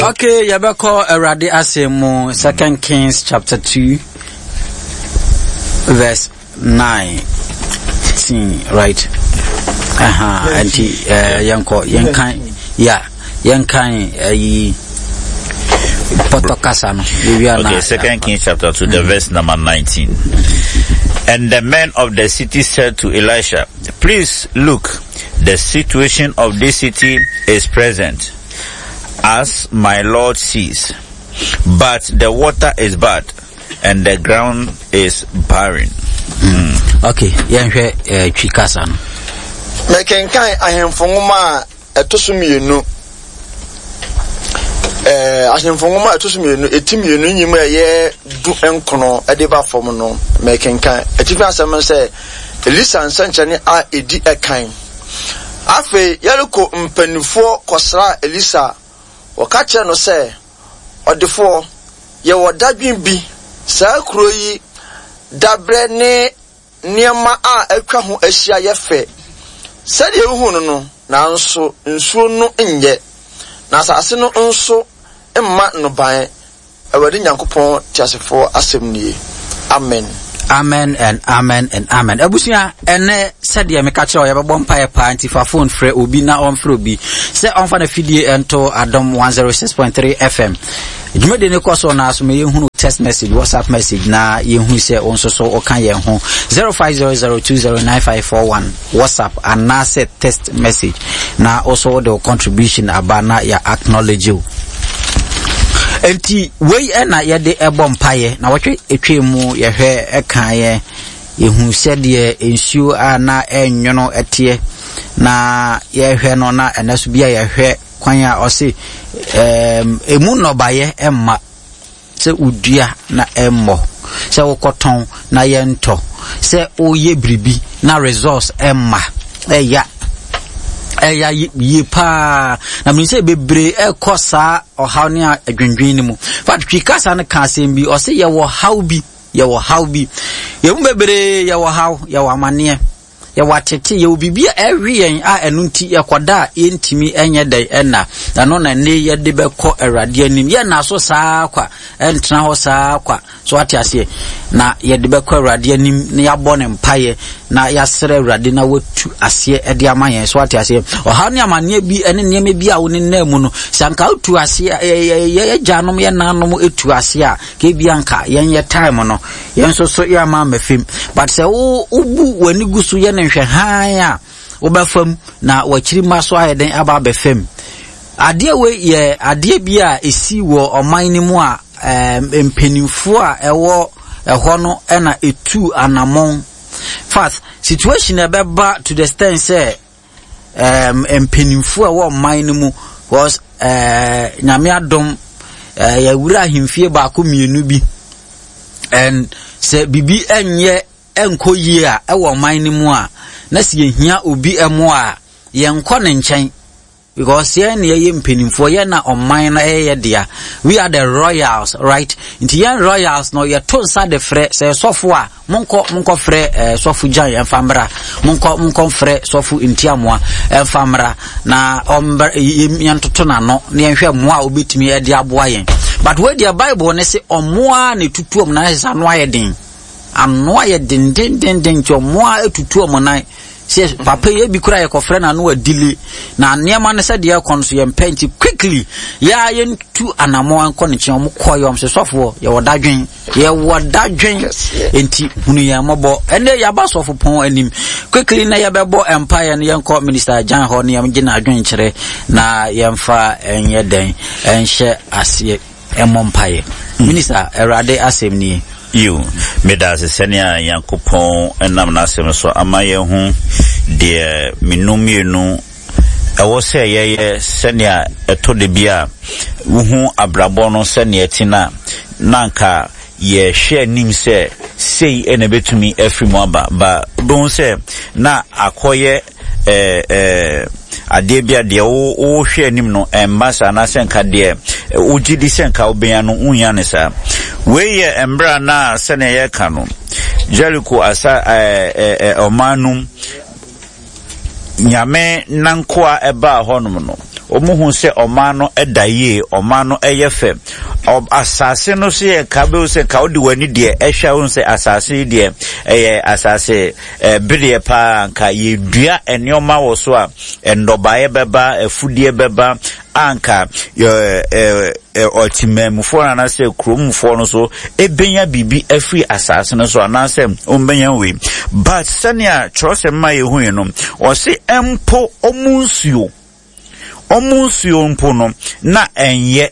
Okay, yɛbɛkɔ Awurade asɛm mu, Second Kings chapter 2 verse 19, right? Aha, nti eh, yɛnkɔ, yɛnkan, ya, yɛnkan ayi pɔtɔ kasa no. Okay, Second Kings chapter 2, the verse number 19. And the men of the city said to Elisha, Please look, the situation of this city is present, as my Lord sees. But the water is bad, and the ground is barren. Okay, yɛnhwɛ eh, twi kasa no. Mekenkan Ahemfo Nwoma a ɛto so mmienu. Ɛɛ Ahemfo Nwoma a ɛto so mmienu, eti mmienu nyim a ɛyɛ du nkono de ba fam no, mekenkan. Atifi asɛm no sɛ, Elisa nsɛnkyerɛnne a edi kan. Afei Yeriko mpanimfoɔ kɔsraa Elisa. Wɔka kyerɛɛ no sɛ, Ɔdefoɔ, yɛwɔ dadwen bi, saa kuro yi daberɛ ne nneɛma a atwa ho ahyia yɛ fɛ sɛdeɛ wohu no no, nanso nsuo no nyɛ, na asase no nso mma nnɔbaeɛ. Awurade Nyankopɔn teasefoɔ asɛm nie. Amen. Amen and amen and amen. Abusua, ɛnɛ sɛdeɛ meka kyerɛ wo yɛbɛbɔ mpaeɛ paa nti fa phone frɛ obi na ɔmfrɛ obi sɛ ɔmfa no fidie nto Adom 106.3 FM. Dwumadie no kɔ so na so ma yɛhunu text message, WhatsApp message na yɛhu sɛ wo nso so woka yɛn ho 0500209541 WhatsApp anaasɛ text message na wo so wode wo contribution aba na yɛ acknowledge wo. Enti wei na yɛde ɛbɔ mpaeɛ na wɔtwe etwa mu yɛhwɛ ɛkaeɛ yɛhu sɛdeɛ nsuo a na ɛnwono ɛteɛ na yɛhwɛ no na ɛnɛ so bi a yɛhwɛ kwan a ɔse ɛmu nnɔbaeɛ ɛmma sɛ wodua na ɛmmɔ, sɛ wokɔtɔn na yɛntɔ, sɛ woyɛ biribi na results ɛmma, ɛya ɛya yie paa na menim sɛ bebree ɛkɔ saa ɔhaw ne adwendwen no mu but twi kasa no ka asɛm bi ɔse yɛwɔ haw bi yɛwɔ haw bi yɛmu bebree yɛwɔ haw yɛwɔ amaneɛ Yɛwɔ atete, yɛwɔ biribi a ɛwe yɛn a ɛno nti yɛkɔda a yɛntumi nyɛ dɛn ɛnna. Ɛno na ɛnne yɛde bɛkɔ Awurade anim. Yɛnna so saa kwa, ɛntena hɔ saa kwa. So ate aseɛ? Na yɛde bɛkɔ Awurade anim na yɛabɔ ne mpaeɛ na yɛasrɛ Awurade na watu aseɛ de ama yɛn. So ate aseɛ? Ɔhaw ne amanneɛ bi ne nneɛma bi a wo ne nam mu no, sɛ anka wotu aseɛ, yɛ agyanom, yɛ nanom tu aseɛ a, kebia anka yɛnyɛ time no. Yɛn nso so yɛ ama ama fam. But sɛ wo wobu w'ani gu so yɛ no nhwɛ hann a, wobɛfam na w'akyiri mma so ayɛ den aba abɛfam. Adeɛ wei yɛ adeɛ bi a ɛsi wɔ ɔman no mu a mpanimfoɔ a ɛwɔ ɛhɔ no na ɛtu anamɔn. Fact, situation ɛbɛba to the extent sɛ um, mpanimfoɔ a ɛwɔ ɔman no mu because uh, nyame adom uh, yɛwura ahemfie baako mmienu bi and sɛ biribi nyɛ nkɔ yie a ɛwɔ ɔman no mu a na sɛ yɛhia obi mmoa a yɛnkɔ ne nkyɛn because yɛn na yɛyɛ mpanimfoɔ yɛn na ɔman no ɛyɛ yɛ dea we are the royals right nti yɛn royals no yɛto nsa de frɛ sɛ sɔfo a Monkɔ, monkɔfrɛ eh, sɔfo Gyan ɛmfa mmra. Monkɔ, monkɔfrɛ sɔfo Ntiamoa ɛmfa mmra na ɔmbra yɛntoto n'ano na yɛnhwɛ mmoa a obetumi ɛde aboa yɛn. But wei deɛ Bible ne se ɔmmoa na etutu ɔmo nan sɛ ano ayɛ den. Ano ayɛ den den den den nti ɔmmoa etutu ɔmo nan. Sɛ papa yi ebi kura yɛkɔfrɛ n'ano adile na nneɛma no sɛ deɛ ɛkɔ no so yɛmpɛ nti quickly yɛa yɛntu anamɔ nkɔ ne nkyɛn ɔmo kɔ yɛ ɔmo sɛ sɔfoɔ yɛwɔ dadwen. Yɛwɔ dadwen nti hunu yɛn mmɔbɔ. Ɛnɛ yɛaba sɔfo pɔn anim. Quickly na yɛbɛbɔ mpaeɛ no yɛnkɔ Minister Jan hɔ na yɛngye n'adwenkyerɛ na yɛmfa ɛnyɛ dɛn ɛnhyɛ aseɛ ɛmmɔ mpaeɛ. Minister, Awurade asɛm nie. Yiw, meda ase sɛnea Nyankopɔn nam n'asɛm so ama yɛahu deɛ menu mmienu Ɛwɔ sɛ yɛyɛ sɛnea ɛtɔ da bi a wuhu abrabɔ no sɛnea ɛte no a, na anka yɛhwɛ anim sɛ sei na ebetumi afiri mu aba. Ba wobɛhu sɛ na akɔyɛ ɛɛ ɛɛ adeɛ bi a deɛ wohwɛ anim no ɛmma saa anaasɛ nka deɛ wogye di sɛ nka wobɛnya no wonnya no saa. Wei yɛ mmerɛ a na sɛnea yɛka no Jericho asa ɛɛ ɛɛ ɔman no mu Nyame nankoa ɛbaa hɔnom no, Wɔhu sɛ ɔman no da yie, ɔman no yɛ fɛ. Asase no so yɛ nka bɛhu sɛ nka wode w'ani deɛ ɛhwɛ a wohu sɛ asase yi deɛ ɛyɛ asase bedeɛ paa nka yɛdua nneɛma wɔ so a nnɔbaeɛ bɛba, afudeɛ bɛba a nka ɔtemammufoɔ no anaasɛ kuromfoɔ no so ɛbɛnya biribi afiri asase no so anaasɛ ɔmbɛnya wei. But sɛnea kyerɛwsɛm ma yɛhui no, ɔse mpo ɔmo nsuo Wɔn nsuo mpo no, na ɛnyɛ.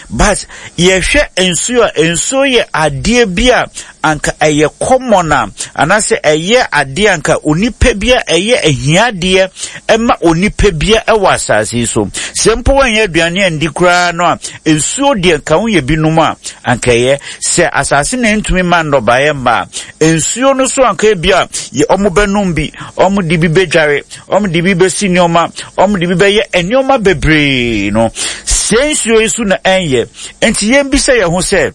But yɛhwɛ nsuo a, nsuo yɛ adeɛ bi a anka ɛyɛ common a, anaasɛ ɛyɛ adeɛ anka onipa bi a ɛyɛ ahiadeɛ ɛma onipa bi a ɛwɔ asase yi so. Sɛ mpo wɔnyɛ aduane andi koraa no a, nsuo deɛ nka woyɛ binom a, anka ɛyɛ. Sɛ asase na ɛntumi ma nnɔbaeɛ mma a, nsuo no so anka ebi a wɔn bɛnom bi, wɔn de bi bɛdware, wɔn de bi bɛsi nneɛma, wɔn de bi bɛyɛ nneɛma bebree no. Sɛ nsuo yi so na ɛnyɛ. Nti yɛn bisa yɛn ho sɛ,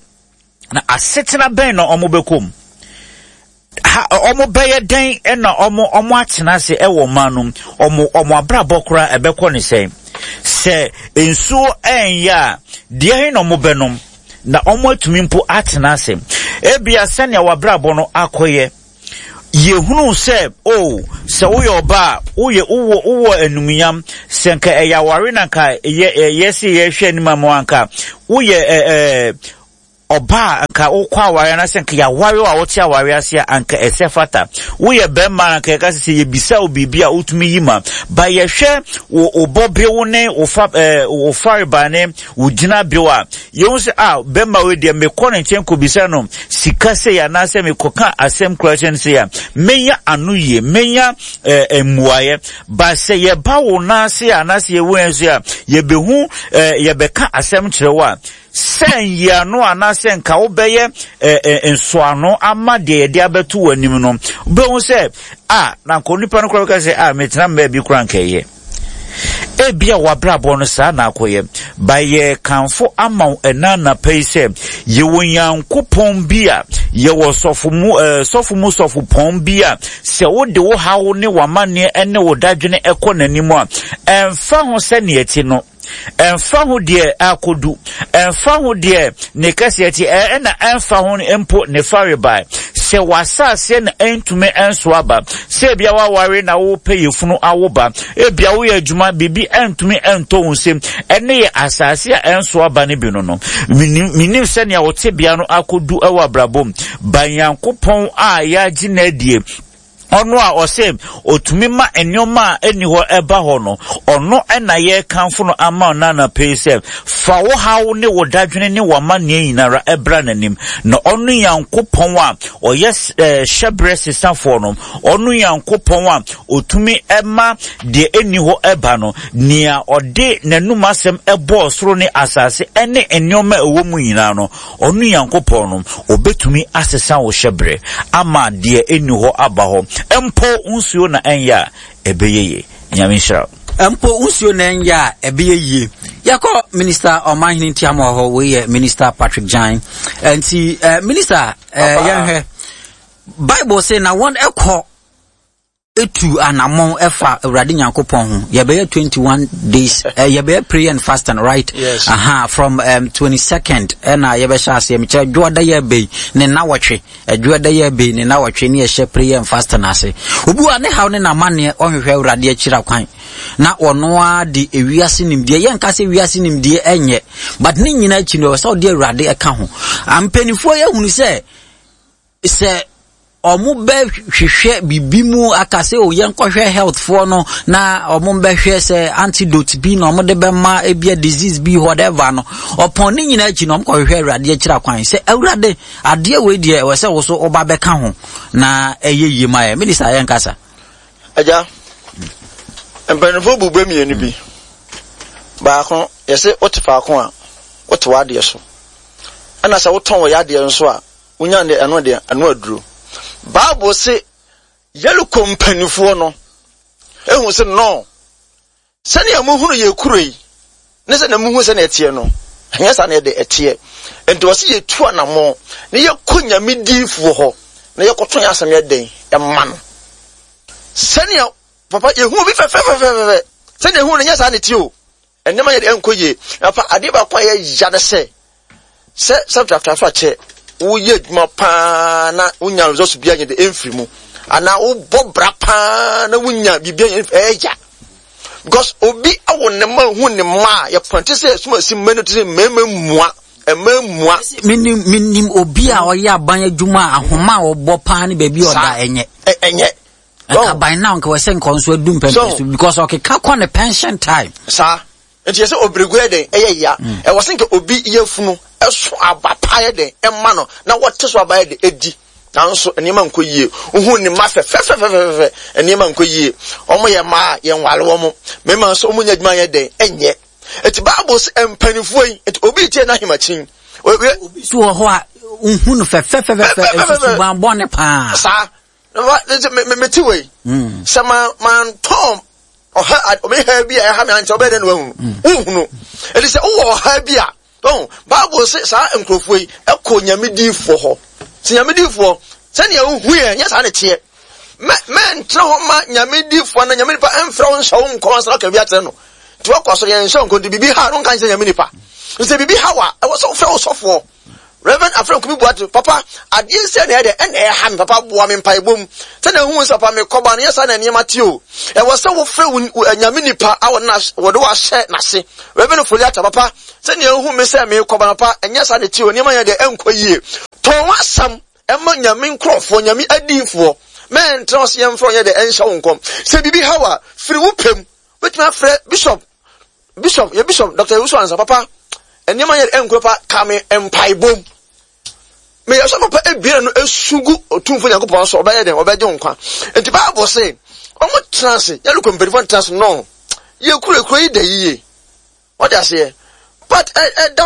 na asetena bɛn na wɔn bɛkɔ mu? Ha, wɔn bɛyɛ dɛn na wɔn wɔn atena ase wɔ ɔman no mu? Wɔn wɔn abrabɔ koraa ɛbɛkɔ ne sɛn? Sɛ nsuo ɛnyɛ a, deɛ he na wɔn bɛnom na wɔn atumi mpo atena ase? Ebia sɛnea wɔabrabɔ no akɔyɛ. Yɛhunuu sɛ, o, sɛ woyɛ ɔbaa a, woyɛ, wowɔ, wowɔ anumuyam. Sɛ nka ɛyɛ aware na nka yɛ, yɛ se yɛhwɛ anim ama anka woyɛ ɛ, ɛ, ɔbaa a nka wokɔ aware anaasɛ nka yɛaware a wote aware ase a anka ɛsɛ fata. Woyɛ bɛrima a anka yɛka sɛ sɛ yɛbisa wo biribi a wotumi yi ma. Ba yɛhwɛ wo, wo bɔbew ne wo fa, ɛ, wo farebae ne wo gyinabew a, Yɛhu sɛ, ah, bɛrima wei deɛ mekɔ ne nkyɛn kɔbisa no sika sei anaasɛ mekɔka asɛm kora kyerɛ no sei a, mɛnya ano yie, mɛnya eh, mmuaeɛ. Ba sɛ yɛba wo nan ase a anaasɛ yɛwɔ yɛn so a, yɛbɛhu eh, yɛbɛka asɛm kyerɛ wo a, sɛ nyiano anaasɛ nka wobɛyɛ eh, eh, nsɔano ama deɛ yɛde abɛto w'anim no, wobɛhu sɛ, ah, na nka onipa no koraa bɛka sɛ, ah, metena mmaa bi koraa nka ɛyɛ. Ebia w'abrabɔ no saa na akɔyɛ. Ba yɛrekamfo ama wo ɛna anapa yi sɛ yɛwɔ Nyankopɔn bi a yɛwɔ sɔfo mu eh, sɔfo mu sɔfopɔn bi a sɛ wode wo haw ne w'amanneɛ ne wo dadwene ɛkɔ n'anim a ɛmfa ho sɛnea ɛte no ɛmfa ho deɛ akodu ɛmfa ho deɛ ne kɛseɛ te ɛna ɛmfa ho mpo ne farebae sɛ w'asaaseɛ na ɛntumi ɛnso aba sɛ ebia waware na wopɛ yɛfunu awo ba ebia woyɛ adwuma biribi ɛntumi ɛntɔ wo nsam ɛne yɛ asaase a ɛnso aba no bi no no menim sɛnea wo tebea no akɔdu ɛwɔ abrabɔ mu ba Nyankopɔn a yɛagye no adie Ɔno a ɔse otumi ma nneɛma a ɛnni hɔ ɛba hɔ no, ɔno na yɛrekamfo no ama wo anɔpa yi sɛ, fa wo haw ne wo dadwene ne w'amanneɛ nyinara bra n'anim. Na ɔno Nyankopɔn a ɔyɛ hyɛberɛ sesafoɔ no, ɔno Nyankopɔn a otumi ma deɛ ɛnni hɔ ɛba no, nea ɔde n'anum asɛm ɛbɔɔ soro ne asase ne nneɛma a ɛwɔ mu nyinaa no, Ɔno Nyankopɔn no, ɔbɛtumi asesa wo hyɛberɛ ama deɛ ɛnni hɔ aba hɔ. Mpo nsuo na ɛnyɛ a, ɛbɛyɛ yie. Nyame nhyira wo. Mpo nsuo na ɛnyɛ a, ɛbɛyɛ yie. Yɛkɔ Minister Ɔmanhene Ntiamoa hɔ, wei yɛ Minister Patrick Gyan. Nti, eh, Minister, eh, yɛnhwɛ. Bible se na wɔn ɛkɔ tu anammɔn ɛfa Awurade Nyankopɔn ho. Yɛbɛyɛ 21 days, uh, yɛbɛyɛ prayer and fasting, right? Yes. Aha, from um, 22nd, ɛna yɛbɛhyɛ aseɛ, mekyerɛ dwoɔda yɛ bɛyi, ne nnawɔtwe, dwoɔda yɛ bɛyi, ne nnawɔtwe, ne yɛhyɛ prayer and fasting ase. Obi wa ne haw ne n'amanneɛ, ɔnhwehwɛ Awurade akyira kwan, na ɔno ara de ewiase nimdeɛ, yɛnka sɛ wiase nimdeɛ ɛnyɛ, but ne nyinaa akyi no, ɛwɔ sɛ ɔde Awurade ɛka ho. Mpanimfoɔ yɛhunu sɛ, sɛ wɔn bɛhwehwɛ biribi mu aka sɛ o yɛnkɔhwɛ health foɔ no na wɔn bɛhwɛ sɛ antidote bi na wɔn de bɛma ebia disease bi whatever no ɔpɔn ne nyinaa akyi na wɔn kɔhwehwɛ awurade akyira kwan sɛ awurade adeɛ wei deɛ ɛwɔ sɛ woso ɔba bɛka ho na ɛyɛ yie ma yɛ minista yɛn kasa. Agya, mpanimfoɔ bu bɛ mmienu bi. Baako, yɛsɛ wote faako a, wote w'adeɛ so. Ɛna sɛ wotɔn wɔ yadeɛ nso a, Wonya no deɛ, ɛno deɛ, ɛno aduro. Bible se Yeriko mpanimfoɔ no ehu se no, sɛnea muhunu yɛ kuro yi ne sɛnea muhu sɛnea ɛteɛ no, ɛnyɛ saa na ɛde ɛteɛ. Nti wɔse yɛtu anammɔn na yɛkɔ Nyame diifoɔ hɔ na yɛkɔto yɛn asɛm yɛ dɛn ɛma no. Sɛnea papa yɛhu obi fɛfɛfɛfɛfɛ sɛnea ehu no nyɛ saa na ɛteɛ o. Nneɛma yɛ de ɛnkɔ yie. Afa adeɛ baako a ɛyɛ ya ne sɛ, sɛ sɛ akyɛ woyɛ adwuma paa na wonya results bi anyɛ de ɛmfiri mu anaa wobɔ bra paa na wonya biribi anyɛ ɛyɛ ya because obi awo ne mma hu ne mma a yɛpɔnte sɛ ɛsoma si mma no te sɛ mmarima mmua mma mmua. Menim menim obi a ɔyɛ aban adwuma a ahoma a ɔbɔ paa ne baabi a ɔda ɛnyɛ. Ɛnyɛ. Nka by now nka wɔsɛ nka ɔnso adu mpɛmpɛ so because ɔkeka kɔ ne pension time. Saa nti yɛ sɛ obirigu yɛ dɛn ɛyɛ ya mm. ɛwɔ sɛ nka obi yɛ funu ɛso aba pa yɛ dɛn ɛma no na wɔte so aba yɛ dɛn ɛdi nanso nneɛma nkɔ yie wohu ne mma fɛfɛfɛfɛfɛ nneɛma nkɔ yie wɔn yɛ mmaa yɛn nwale wɔn mmarima nso wɔn nyɛ adwuma yɛ dɛn ɛnyɛ eti baabu sɛ mpanimfoɔ yi eti obi tie n'ahemakyin. Obi so wɔ hɔ a wohu no fɛfɛfɛfɛ nso suban bɔne paa. Saa mete wei hmm. sɛ mantɔn ɔha ɔmeha bi a ɛha me ankyɛ wobɛyɛ dɛ na wahunu hmm. wohunu ɛti sɛ wowɔ ɔha bi a ɔn bible se saa nkurɔfoɔ yi ɛkɔ nyame diifoɔ hɔ sɛ nyame diifoɔ sɛnea wohu yɛ nyɛ saa ne teɛ mɛntena hɔ ma nyame diifoɔ na nyame nipa ɛmfrɛ wo nhyɛ wo nkɔm ansa ka bi akyerɛ no nti wakɔ so yɛnhyɛ wo nkɔm nti biribi ha no nka nkyerɛ nyame nipa sɛ biribi ha wa ɛwɔ sɛ wofrɛ wo sɔfoɔ Rev. Afrɛ Kumi Boateng, Papa, adeɛ sɛ na ɛyɛ dɛ, ɛna ɛha me, papa boa me mpaebɔ mu. Sɛnea wohu sɛ papa mekɔba no, nyɛ saa na nneɛma te o. Ɛwɔ sɛ wofrɛ wo Nyame nipa a wɔde wo ahyɛ n'ase. Rev. Ofori-Atta, Papa, sɛnea wohu me sɛ mekɔba no, papa, ɛnyɛ saa na ɛte o, nneɛma nyɛ dɛ, ɛnkɔ yie. Tɔn w'asɛm ma Nyame nkurɔfoɔ, Nyame adiyifoɔ. Mɛntena hɔ sɛ yɛmfrɛ wo nyɛ dɛ, ɛnhyɛ wo nkɔm. Sɛ biribi ha wo a, firi wo pɛ mu. Wobɛtumi afrɛ Bishop Bishop, yɛ bishop, Dr. Ewusu Ansa, papa, nneɛma yɛ ɛnkuro pa, ka me mpaebom. Meyɛ sɛ papa ebien no esu gu Otumfo Nyankopɔn so, ɔbɛyɛ dɛn? Ɔbɛgye wo nkwa. Nti Bible se, wɔn tena ase, yɛrekɔ mpanyinfoɔ tena ase, no, yɛ kuro, kuro yi da yie. Wɔde aseɛ. But ɛda.